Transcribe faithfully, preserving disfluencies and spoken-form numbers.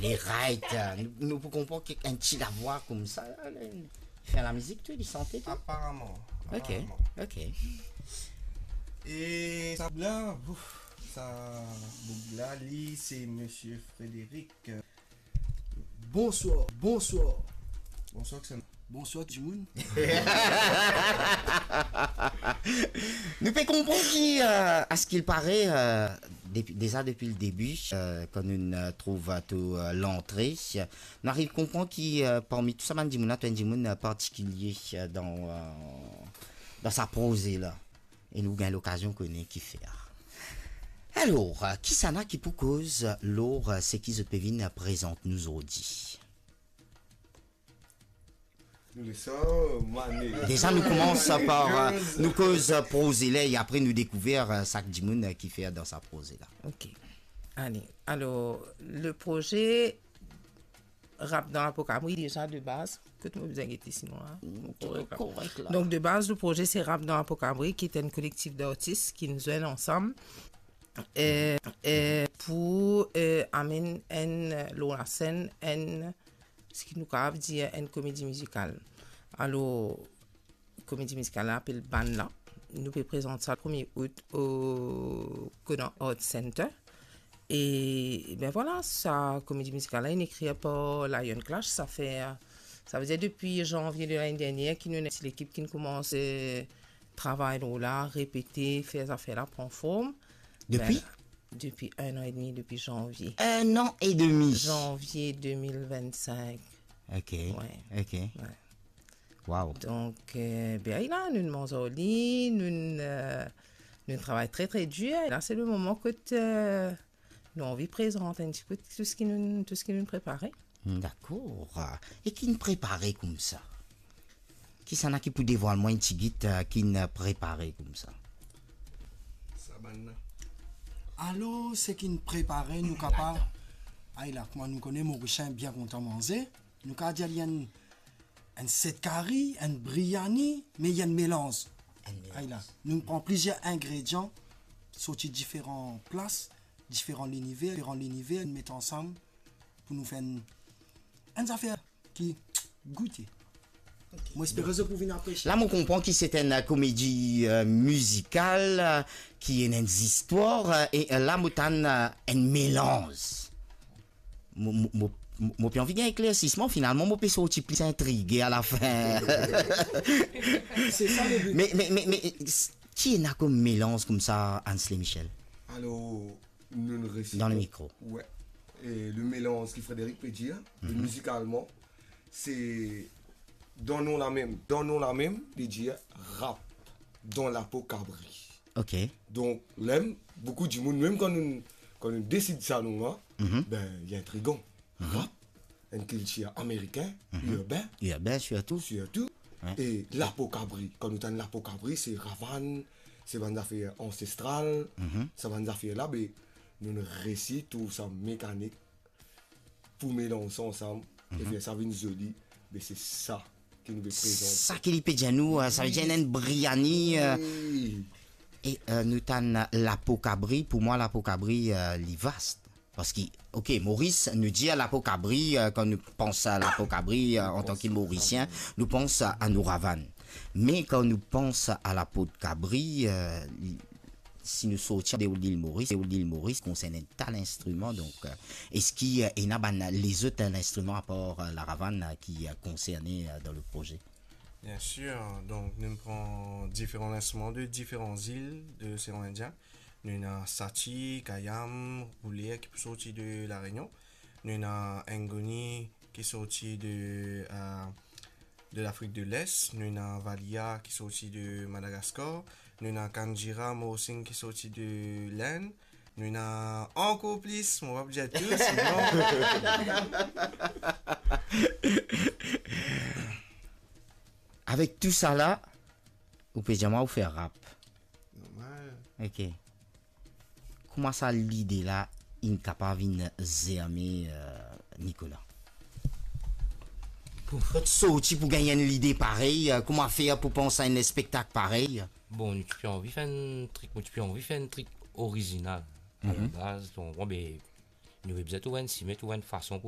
E right, euh, nou, nou pou konpran ki enn ti lavwa koumsa la, li fer lamizik tou, li sante tou. Aparaman, Ok, aparaman. Ok. E sa la, ouf, sa boug la, li, se Misie Frédéric. Bonswar, bonswar. Bonswar, Xana. Bonswar, dimoun. Nou pe konpran ki, euh, askil pare, euh, depi, deza depi le debi, euh, kan nou, euh, trouv, euh, tou, euh, lantre, nou ariv konpran ki, euh, parmi tou sa bann dimoun la, to enn dimoun, euh, partikilie, euh, dan, euh, dan sa proze la. E nou gagn lokazion kone kifer. Alor, euh, kisannla ki pou koz lor, euh, seki zot pe vinn prezant nou zordi? Nou les sa, euh, mane. Deza nou koumans par, euh, nou koz, euh, proze la, e apre nou dekouver, euh, sak dimoun, euh, ki fer dan sa proze la. Ok. Ale, alor, le proze Rap dan Lapo Kabri, deza de baz, kot mo bizin gete sinon la. Mm, korek, korek la. Donk de baz, le proze se Rap dan Lapo Kabri, ki enn kolektif dartis ki nou zwenn ansam, e, e pou, e, amenn enn, lor lasenn, enn, seki nou kapav dir enn komedi mizikal. Alor, komedi mizikal la apel Bann la. Nou pe prezant sa premie out o Konan Art Center. E, ben vwala, sa komedi mizikal la, inn ekrir par Lion Clash. Sa fer, sa vedir depi zanvie de lane dernier ki nou ena ti lekip ki'nn koumans, eh, travay lor la, repete, fer zafer la pran form. Depi? Ben, depi enn an edmi, depi zanvie. Enn an edmi. Zanvie de mil vennsenk. Ok, ouais, ok. Ouais. Wow. Donk, eh, ben, la, nou manz ar li, nou, eh, nou travay tre, tre dir. La, se le moman kot, eh, nou anvi prezant enn ti pe tou seki nou, tou seki nou prepare. Hmm, dakor. E ki'nn prepare koumsa? Kisannla ki pou devwal mwa enn tigit, eh, ki'nn prepare koumsa? Sa bann la. Alor, seki'nn prepare, nou kapav, ay la, kouma nou kone Morisien bien kontan manze, nou kapav dir li enn, enn set kari, enn briani, me li enn melanz. Enn melanz. Ay la, nou pran plizier ingredian, sorti diferan plas, diferan liniver, diferan liniver, nou met ansam pou nou fer enn, enn zafer ki goute. Ok. Mo espere zot pou vinn apresie. La, mo konpran ki se enn komedi, eh, mizikal, eh, ki ena enn zistwar, eh, e, eh, la, mo tann, eh, enn melanz. Mo, mo, mo, mo, mo pe anvi gagn eklersisman, finalman, mo pe sorti pli intrige alafin. Se sa le bi. Me, me, me, me, s-, ki ena kom melanz koumsa, Ansley Michel? Alor, nou, nou resi... Dan le mikro. Ouais. E le melanz ki Frédéric pe dir, mhm, mizikalman, se dan non la mem, dan non la mem, li dir rap dan lapo kabri. Ok. Donk, mem, boukou dimoun, mem kan nou, kan nou desid sa non la, mhm, ben, li intrigan. Mhm. Rap, enn kiltir amerikin, mhm, irben. Irben, sirtou. Sirtou. Ouais. E lapo kabri, kan nou tann lapo kabri, se ravann, se bann zafer ansestral, mhm, sa bann zafer la, be, nou, nou resi trouv sa mekanik pou melanz sa ansam, e, mhm, fer sa vinn zoli, be, se sa ki nou pe prezant. Sa ki li pe dir nou, eh, sa ve dir enn briani, eh, wi, e, eh, nou tann lapo kabri. Pou mwa, lapo kabri, eh, li vast. Parski, ok, Moris, nou dir lapo kabri, eh, kan nou pans a lapo kabri, eh, antan ki Morisien, nou pans a, a nou ravann. Me kan nou pans a lapo kabri, eh, li, si nou sorti de lil Moris, lil Moris konsern enn ta linstriman, donk, eh, eski, eh, ena bann lezot, eh, linstriman apar, eh, laravann, eh, ki, eh, konserne, eh, dan le proze? Bien sir, donk nou pran diferan linstriman de diferan zil de losean Indien. Nou ena sati, kayam, rouler ki pou sorti de La Réunion. Nou ena ngoni ki sorti de, eh, de Lafrik de Les, nou ena valia ki sorti de Madagaskar, nou ena kanjira, morsing ki sorti de Lenn, nou ena ankor plis, mo pa pou dir tou, sinon. Avek tou sa la, ou pe dir mwa ou fer rap. Normal. Ok. Kouma sa lide la inn kapav vinn zerme, eh, Nicolas? Pou... Kot sorti pou gagn enn lide parey, eh, kouma fer pou pans a enn spektak parey? Bon, nou ti pe anvi fer enn trik, nou ti pe anvi fer enn trik orizinal. Mhm. Alabaz, donk, bon, be, nou pe bizin trouv enn simin, trouv enn fason pou